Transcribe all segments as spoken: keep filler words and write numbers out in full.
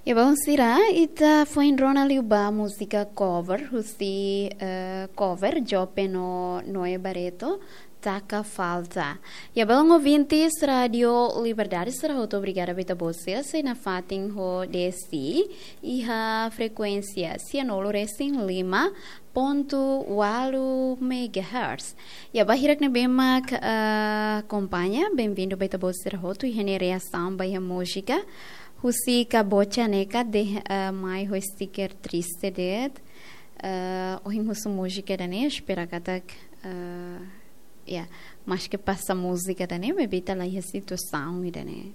Ya, bom, sira, ita foin rona liu ba múzika cover, husi, eh, cover, Jope no Noe Barreto, Taka Falta. Ya, bom, ouvintes Rádio Liberdade, sira hotu obrigada ba ita-boot sira sei nafatin ho D S T, iha frekuénsia sianulu resin lima pontu ualu megahertz. Ya, ba hirak ne'ebé mak, eh, akompaña, benvindu ba ita-boot sira hotu, iha ne'e reasaun ba iha múzika. Husi Kabocha ne'e katak, eh, mai ho sticker triste de'it. Eh, ohin husu múzika ida-ne'e, espera katak, eh, ya, maske pasa múzika ida-ne'e, maibé ita la iha situasaun ida-ne'e.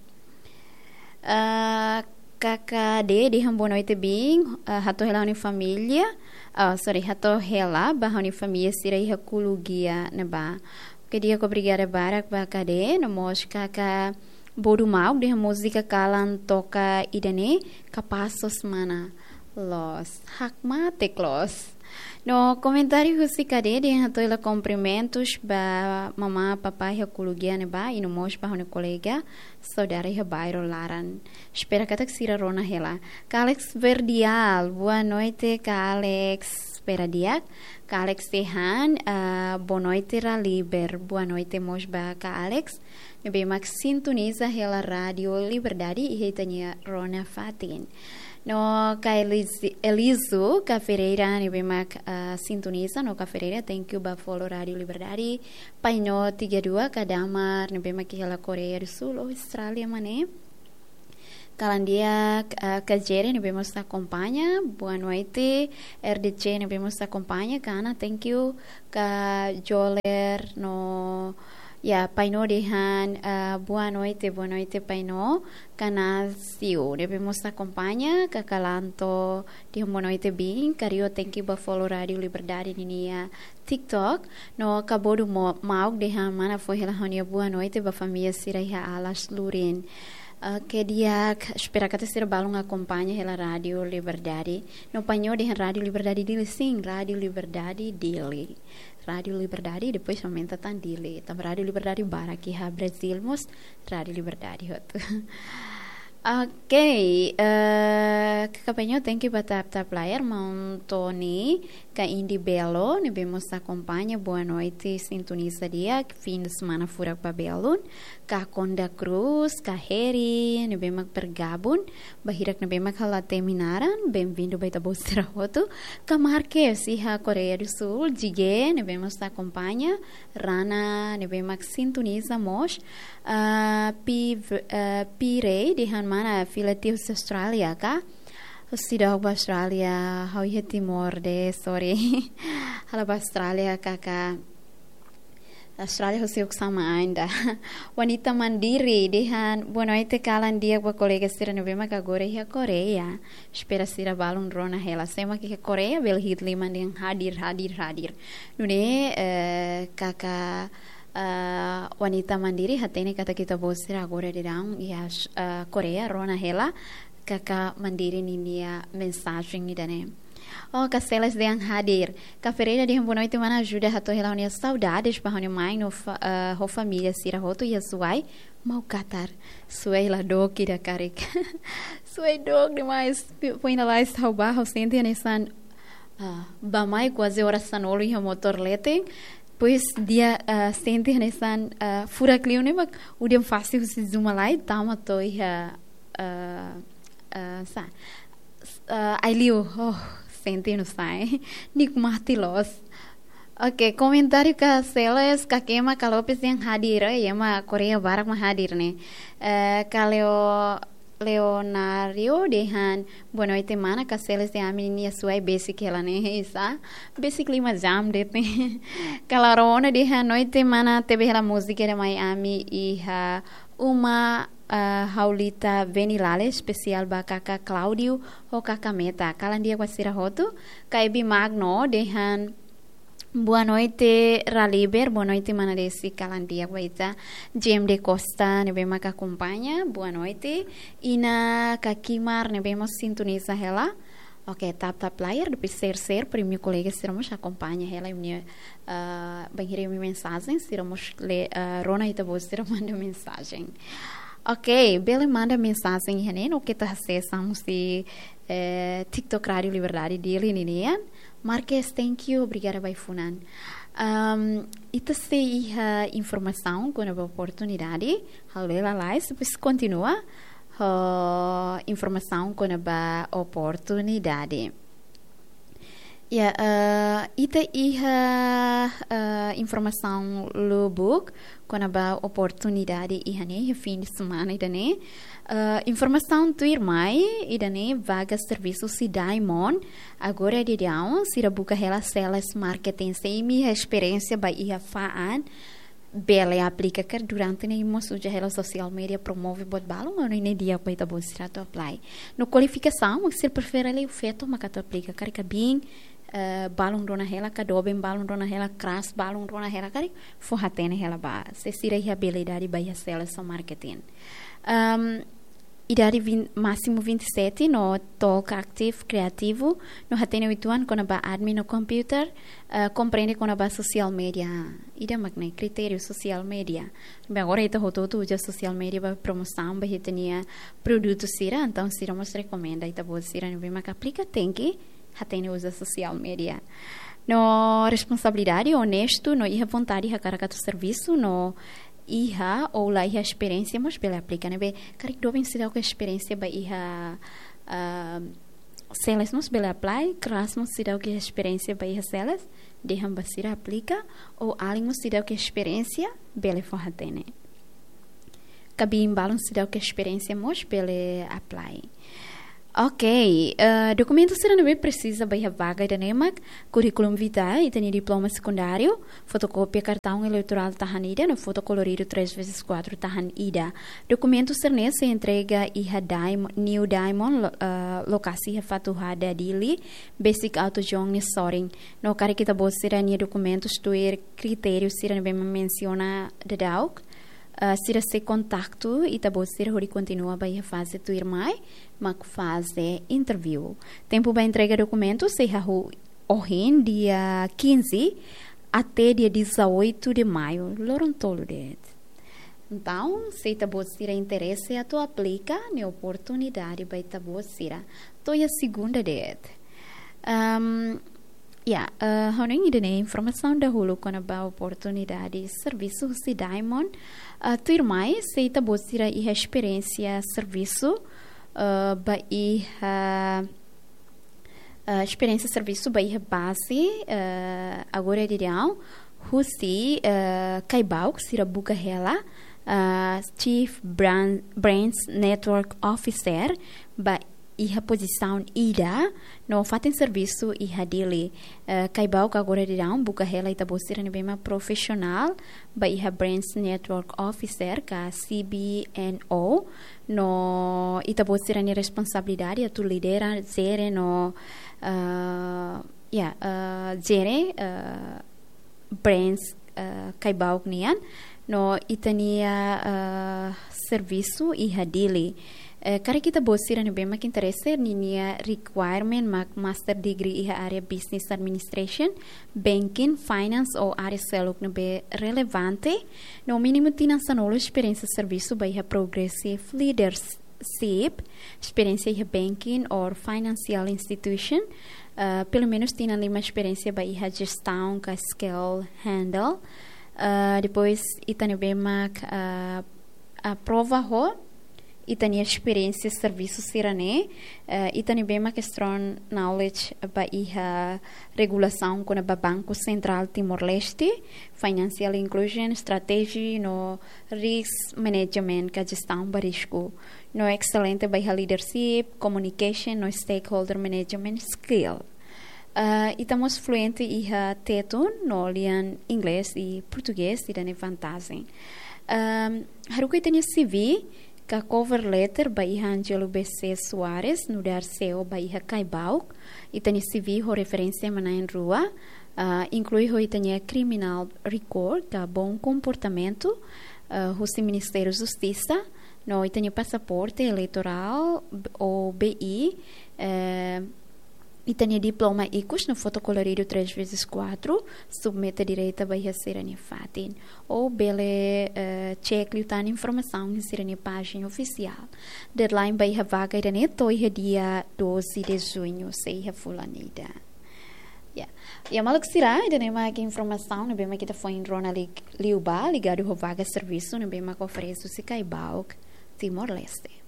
Eh, Kaka D dehan boa noite, biin, eh, hato'o hela ho nia família, ah, sorry, hato'o hela ba ho nia família sira iha Kulugia ne'ebá. Oke, di'ak, obrigada barak ba Kaka D, no mós Kaka Bodu Mauk dehan múzika kalan toka ida-ne'e, kapás semana loos. Hakmatek loos. No komentáriu husi Kaka D dehan hato'o hela kumprimentus ba mamá, papá iha Kulugia ne'ebá, i no mós ba ho nia kolega, saudara iha bairru laran. Espera katak sira rona hela. Kaka Alex Verdial, boa noite, Kaka Alex. Espera di'ak. Kaka Alex dehan, ah, boa noite, Raliber. Boa noite mós ba Kaka Alex. Ne'ebé mak sintoniza hela Rádio Liberdade iha ita-nia rona fatin. No Kaka Eliz-, Elizu, Kaka Ferreira, ne'ebé mak, ah, sintoniza, no Kaka Ferreira, thank you ba follow Rádio Liberdade. Painó tiga dua, Kaka Damar, ne'ebé mak iha la Koreia do Sul, ou Austrália, mané. Kalan di'ak, ah, Kaka Jere, ne'ebé mós akompaña, boa noite, R D C, ne'ebé mós akompaña, Kana, thank you, Kaka Joler, no, ya, Painó dehan, ah, boa noite, boa noite, Painó, Kaka Nasio, ne'ebé mós akompaña, Kaka Lanto, dehan boa noite, biin, Kaka Rio, thank you ba follow Rádio Liberdade ninia TikTok, no Kaka Bodu Mo-, Mauk dehan mana foin hela ho nia boa noite ba família sira iha Alas Lurin. Oke, di'ak, espera katak sira balun akompaña hela Rádio Liberdade. No Painó dehan Rádio Liberdade Dili, sin, Rádio Liberdade Dili. Rádio Liberdade, depois aumenta tan Dili. Tanba Rádio Liberdade barak iha Brazil mós, Rádio Liberdade hotu. Oke, eh, Kaka Painó, thank you ba tap tap layar, Maun Tony, Kaka Indi Belo, ne'ebé mós akompaña, boa noite, sintoniza di'ak, fim de semana furak ba belun, Kaka Konda Cruz, Kaka Heri, ne'ebé mak bergabung, ba hirak ne'ebé mak hela temi naran, benvindu ba ita-boot sira hotu, Kaka Marques, iha Koreia do Sul, Jige, ne'ebé mós akompaña, Rana, ne'ebé mak sintoniza mós, ah, Pi, ah, Pi Rei, dehan mana fila tiha husi Austrália ka? Husi dook ba Austrália, ha'u iha Timor de'it, sorry. Ha'u la ba Austrália, Kaka. Austrália husi uksa mai ida. Wanita Mandiri, dehan, boa noite, kalan di'ak ba kolega sira ne'ebé mak agora iha Koreia. Espera sira balun rona hela. Sé mak iha Koreia, bele hi'it liman dehan hadir, hadir, hadir. Nune'e, eh, Kaka, eh, Wanita Mandiri, hatene katak ita-boot sira agora daudaun iha, eh, Koreia, rona hela, Kaka Mandiri ninia mensajen ida-ne'e. Oh, Kaka Celes dehan hadir. Kaka Ferreira dehan boa noite, mana, ajuda hato'o hela ha'u-nia saudades ba ha'u-nia mai no fa-, eh, ho família sira hotu iha Suai, Mau Qatar. Suai la dook ida karik. Suai dook demais. Foin lalais ha'u ba, ha'u sente hanesan, ah, bá-mai kuaze oras sanulu iha motór leten. Depois di'ak, ah, sente hanesan, ah, furak liu ne'e mak udan fase husi Zumalai tama to'o iha, ah, ah, sá, s-, ah, Aileu, oh, sente no sai. Nikmati loos. Oke, komentáriu Kaka Celes, Kaka Ema Kaka Lopes dehan hadir, eh, Ema Koreia barak mak hadir ne'e. Eh, Kaka Leo-, Leonario dehan, boa noite, mana, Kaka Celes dehan ami-nia Suai besik hela ne'e, sá? Besik lima jam de'it ne'e. Kaka Laura Ona dehan, noite, mana, tebe hela múzika ida mai ami iha uma, ah, Haulita Venilale, espesiál ba Kaka Claudio ho Kaka Meta. Kalan di'ak ba sira hotu. Kaka Ebi Magno dehan, boa noite, Raliber. Boa noite, mana Desi. Kalan di'ak ba ita. Jem de Costa, ne'ebé mak akompaña, boa noite. Inan Kaka Kimar, ne'ebé mós sintoniza hela. Oke, tap tap layar, depois share share, para imi-nia kolega sira mós akompaña hela imi-nia, ah, bainhira imi mensajen, sira mós le-, ah, rona ita-boot sira manda mensajen. Ok, bele manda mensajen iha ne'e, no keta hasesa musi eh, TikTok Rádio Liberdade Dili ninian. Marques, thank you, obrigada ba ai-funan. Um, ita sei iha informasaun kona-ba oportunidade, halo lalais, depois kontinua ho informasaun kona-ba oportunidade. Ya, eh, ita iha eh, informasaun lubuk kona-ba oportunidade iha ne'e, iha fin de semana ida-ne'e. Eh, informasaun tuirmai, ida-ne'e vaga servisu husi Diamond. Agora daudaun, sira buka hela sales marketing. Se imi iha esperiénsia ba iha fa'an, bele aplika karik durante ne'e mós uza hela social media promove buat balun, no ne'e di'ak ba ita-boot sira atu apply. No kualifikasaun, mak sira prefere liu feto maka atu aplika karik, kaben eh, balun rona hela, ka doben balun rona hela, kras balun rona hela karik, fó hatene hela ba. Se sira iha abilidade ba iha sales ou marketing. Um, idade vinte, másimu vinte e sete, no to'o ka ativu, kriativu, no hatene uitoan kona-ba admin no computer, eh, komprende kona-ba social media. Ida mak ne'e kritériu social media. Bem, agora ita hotu-hotu uza social media ba promosaun ba ita-nia produtu sira, entaun sira mós rekomenda ita-boot sira ne'ebé mak aplika tenke hatene uza social media. No responsabilidade, onestu, no iha vontade hakarak atu servisu, no iha ou la iha esperiénsia mós bele aplika, ne'ebé karik doben seidauk iha esperiénsia ba iha ah, sales mós bele apply, kras mós seidauk iha esperiénsia ba iha sales, dehan ba sira aplika, ou alin mós seidauk iha esperiénsia, bele fó hatene. Kaben balun seidauk iha esperiénsia mós bele apply. Ok, eh, dokumentu sira ne'ebé presiza ba iha vaga ida-ne'e mak, curriculum vitae, ita-nia diploma sekundáriu, fotokópia kartaun eleitorál tahan ida, no foto koloridu três vezes quatro tahan ida. Dokumentu sira-ne'e sei entrega iha Diam-, New Diamond, lo-, eh, lokasi iha Fatuhada, Dili, besik atus jon nia sorin. No karik ita-boot sira-nia dokumentus tuir kritériu sira ne'ebé mak mensiona daudauk, eh, sira sei kontaktu ita-boot sira hodi kontinua ba iha faze tuirmai, mak faze interview. Tempu ba entrega dokumentu sei hahú ohin, dia quinze, até dia dezoito de maio, loron tolu de'it. Entaun, se ita-boot sira interese atu aplika, ne'e oportunidade ba ita-boot sira. To'o iha segunda de'it. Ehm, ya, eh, ha'u hanoin ida-ne'e informasaun dahuluk kona-ba oportunidade servisu husi Diamond. Eh, tuirmai, se ita-boot sira iha esperiénsia servisu, eh, ba iha, eh, esperiénsia servisu ba iha baze, eh, agora daudaun, husi, eh, Caibauk, sira buka hela, eh, Chief Brand, Brands Network Officer, ba iha pozisaun ida, no fatin servisu iha Dili. Eh, Caibauk agora daudaun buka hela ita-boot sira ne'ebé mak profisionál, ba iha Brands Network Officer ka C B N O, no ita-boot sira-nia responsabilidade atu lidera, jere no, eh, ya, eh, jere, eh, brands, eh, Caibauk nian, no ita-nia, eh, servisu iha Dili. Eh, karik ita-boot sira ne'ebé mak interese, ninia requirement mak master degree iha área business administration, banking, finance ou área seluk ne'ebé relevante, no mínimu tinan sanulu esperiénsia servisu ba iha progressive leaders sip, esperiénsia iha banking or financial institution, eh, pelumenus tinan lima esperiénsia ba iha jestaun ka scale handle. Eh, depois, ita ne'ebé mak, eh, aprova ho ita-nia esperiénsia servisu sira-ne'e, eh, ita ne'ebé mak strong knowledge ba iha regulasaun kona-ba Banku Sentrál Timor-Leste, financial inclusion, strategy no risk management ka jestaun ba risku. No excelente ba iha leadership, communication no stakeholder management skill. Ah, ita mós fluente iha Tetun, no lian Inglés i Portugés, ida-ne'e vantajen. Ahm, haruka ita-nia C V, ka cover letter ba iha Angelo B C Soares, nu'udar C E O ba iha Caibauk. Ita-nia C V ho referénsia ema na'in-rua, ah, inklui ho ita-nia criminal record, ka bom comportamento, ah, husi Ministériu Justisa, no ita-nia pasaporte eleitorál, b-, ou B I, eh, ita-nia diploma ikus no foto koloridu três vezes quatro, submete direta ba iha sira-nia fatin. Ou bele, eh, cek liután informasaun iha sira-nia pájina ofisiál. Deadline ba iha vaga ida-ne'e to'o iha dia doze de junho, sei iha fulan ida. Ya. Ya, maluk sira, ida-ne'e mak informasaun ne'ebé mak ita foin rona li-, liubá, ligadu ho vaga servisu ne'ebé mak oferese husi Caibauk, Timor-Leste.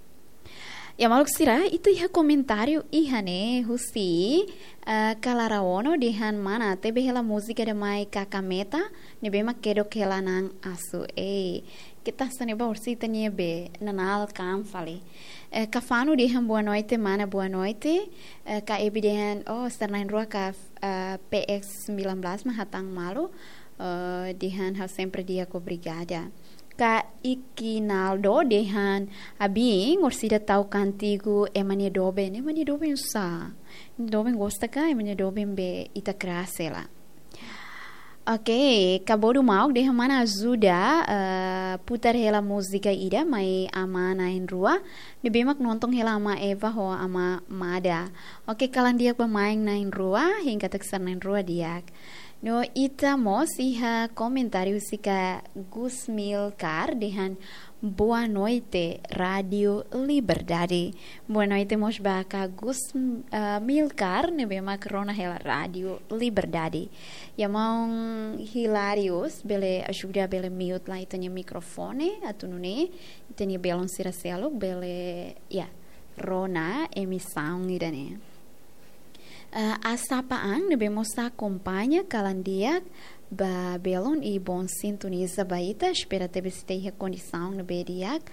Ya, maluk sira, ita iha komentáriu iha ne'e husi, eh, Kalara Ono dehan mana, tebe hela múzika ida mai Kakameta, ne'ebé mak kedok hela na'an asu. Ei, keta hanesan ne'ebá orsida nia be, nanál kan fali. Eh, Kafanu dehan boa noite, mana, boa noite. Eh, Ka Ebi dehan, oh, sira na'in-rua ka, eh, P X sembilan belas mak hatán malu. Eh, dehan ha'u sempre di'ak, obrigada. Ka Ikinaldo dehan, abin, orsida tau kántigu Ema nia Doben. Ema nia Doben sá? Doben gosta ka, Ema nia Doben be ita kras hela. Oke, Ka Bodu Mauk dehan mana ajuda, eh, putar hela múzika ida mai Amá na'in-rua. Ne'ebé mak nonton hela Amá Eva ho Amá Mada. Oke, kalan di'ak ba main na'in-rua, hein katak sira na'in-rua di'ak. No ita mós iha komentáriu husi Ka Gus Milkar dehan boa noite, Rádio Liberdade. Boa noite mós ba Ka Gus, eh, Milkar, ne'ebé mak rona hela Rádio Liberdade. Ya, maun Hilarius, bele ajuda, bele mute lai ita-nia mikrofone, atu nune'e ita-nia belun sira seluk bele, ya, rona emisaun ida-ne'e. Eh, Asapa Ang ne'ebé mós akompaña, kalan di'ak ba belun i bom sintoniza ba ita, espera tebes ita iha kondisaun ne'ebé di'ak.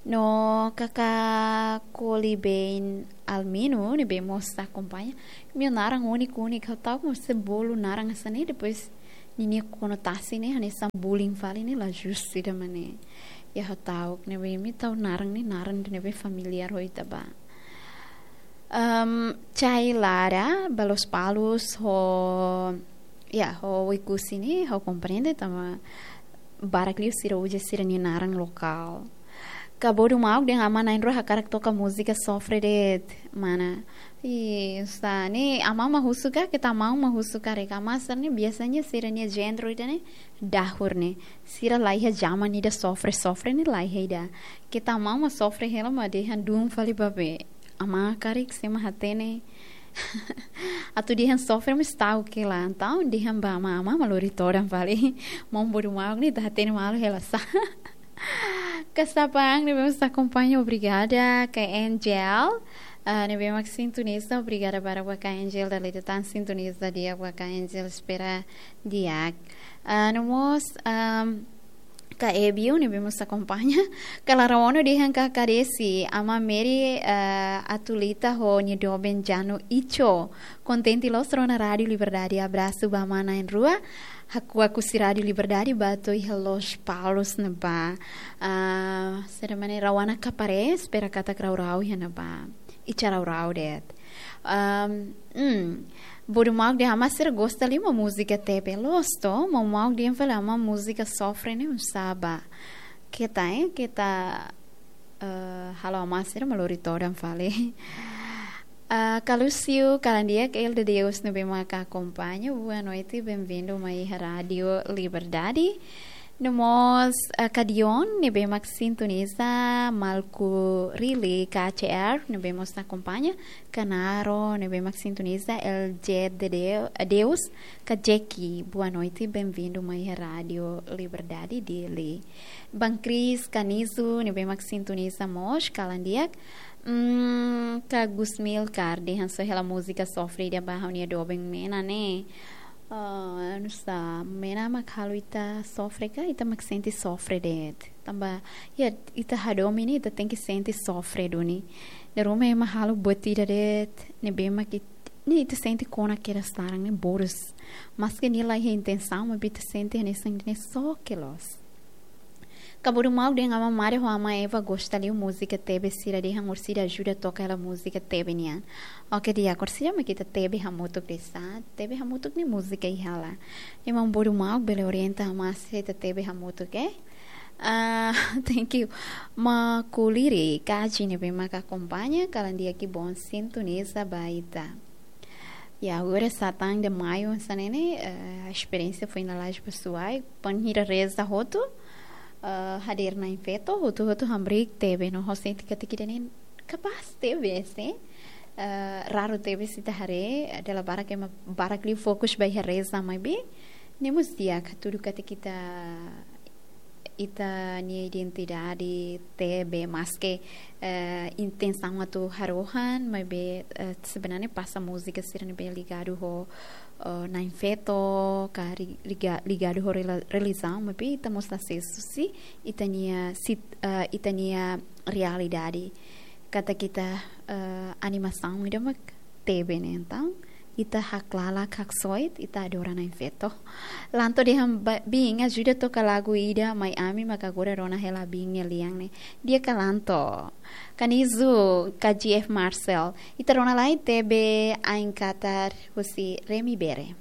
No Kaka Kolibein Almino ne'ebé mós akompaña. Imi-nia naran úniku, úniku, ha'u ta'uk mós se bolu naran hanesan ne'e, depois ninia konotasi ne'e hanesan bullying fali ne'e, la justu ida mak ne'e. Ya, ha'u ta'uk ne'ebé imi tau naran ne'e, naran ne'ebé familiár ho ita ba. Em, Chai Lara ba Lospalos ho, ya, ho Oekusi ne'e, ha'u komprende, tanba barak liu sira uza sira-nia naran lokál. Ka Bodu Mauk dehan Amá na'in-rua hakarak toka múzika sofre de'it, mana. I, sá, ne'e Amá mak husu ka, keta Amá mak husu karik. Amá sira ne'e biasanya sira-nia géneru ida-ne'e dahur ne'e. Sira laiha zaman ida sofre, sofre ne'e laiha ida. Keta Amá mak sofre hela mak dehan dún fali ba be. Amá karik sé mak hatene. Atu dehan sofre mós ta'uk hela. Entaun dehan ba Amá, Amá mak lori todan fali. Maun Bodu Mauk ne'e ita hatene malu hela sá. Ka Sapang ne'ebé mós akompaña, obrigada. Ka Angel, ah, ne'ebé mak sintoniza, obrigada barak ba Ka Angel, dala ida tan sintoniza di'ak ba Ka Angel, espera di'ak. Ah, no mós, am, Ka Ebiu ne'ebé mós akompaña. Ka Lara Ono dehan Ka Kadesi, Amá Mary, eh, Atulita ho nia doben Janu Icho. Kontente loos rona Rádio Liberdade. Abrasu ba Amá na'in-rua. Hakuak husi Rádio Liberdade ba to'o iha Lospalos ne'ebá. Ah, sira mane Rawana Kapare, espera katak rau-rau iha ne'ebá. Icha rau-rau de'it. Am, hmm. Bodu Mauk dehan Amá sira gosta liu mak múzika tebe. Loos to, Maun Mauk dehan fali Amá múzika sofre ne'e oinsá ba. Keta, eh, keta, eh, halo Amá sira mak lori todan fali. Ah, Ka Lúcio, kalan di'ak, El de Deus ne'ebé mak akompaña. Boa noite, bem-vindo mai iha Rádio Liberdade. No mós, ah, Ka Dion ne'ebé mak sintoniza, Malku Rili, Ka C R ne'ebé mós akompaña, Ka Naro ne'ebé mak sintoniza, El J de Deu-, Deus, Ka Jeki, boa noite, bem-vindo mai iha Rádio Liberdade Dili. Bang Cris, Ka Nizu ne'ebé mak sintoniza mós, kalan di'ak. Mm, Ka Gusmil Kar dehan só hela múzika sofre ida ba ha'u-nia doben Mena ne'e. Ah, oinsá, Mena mak halo ita sofre ka, ita mak sente sofre de'it. Tanba, ya, ita hadomi ne'e, ita tenke sente sofre duni. Dala ruma ema halo buat ida de'it, ne'ebé mak it-, ne'e ita sente kona kedas laran ne'e boras. Maske nia laiha intensaun, maibé ita sente hanesan ne'e só ke loos. Ka Bodu Mauk dehan Amá Mari ho Amá Eva gosta liu múzika tebe, sira dehan orsida ajuda toka hela múzika tebe nian. Oke, di'ak, orsida mak ita tebe hamutuk de'it sá. Tebe hamutuk ne'e múzika iha hela. Ne'e Maun Bodu Mauk bele orienta Amá se ita tebe hamutuk, eh? Ah, thank you. Makuliri Kaji ne'ebé mak akompaña, kalan di'ak i bom sintoniza ba ita. Ya, agora satán de maiu, hanesan ne'e, eh, esperiénsia foin lalais pesoál, bainhira reza hotu, eh, hadeer Na'in Feto, hotu-hotu hamriik T V no ha'u sente katak ida-ne'e kapás T V, eh, raru T V ita haree, dala barak ema barak liu fokus ba iha reza maibé, ne'e mós di'ak hatudu katak ita ita-nia identidade T V, maske, eh, intensaun atu harohan, maibé, eh, sebenarnya pasa múzika sira ne'ebé ligadu ho, eh, Na'in Feto, ka ri-, liga-, ligadu ho rela-, relijiaun, maibé ita mós la sesu husi ita-nia sit-, eh, ita-nia realidade. Katak ita, eh, animasaun ida mak T V ne'e, entaun ita haklalak, haksoit, ita adora Na'in Feto. Lanto dehan ba-, biin, ajuda toka lagu ida mai ami, maka agora rona hela biin nia lian ne'e. Di'ak ka Lanto? Kanizu, ka G F Marcel. Ita rona lai T V Ain Katar husi Remy Bere.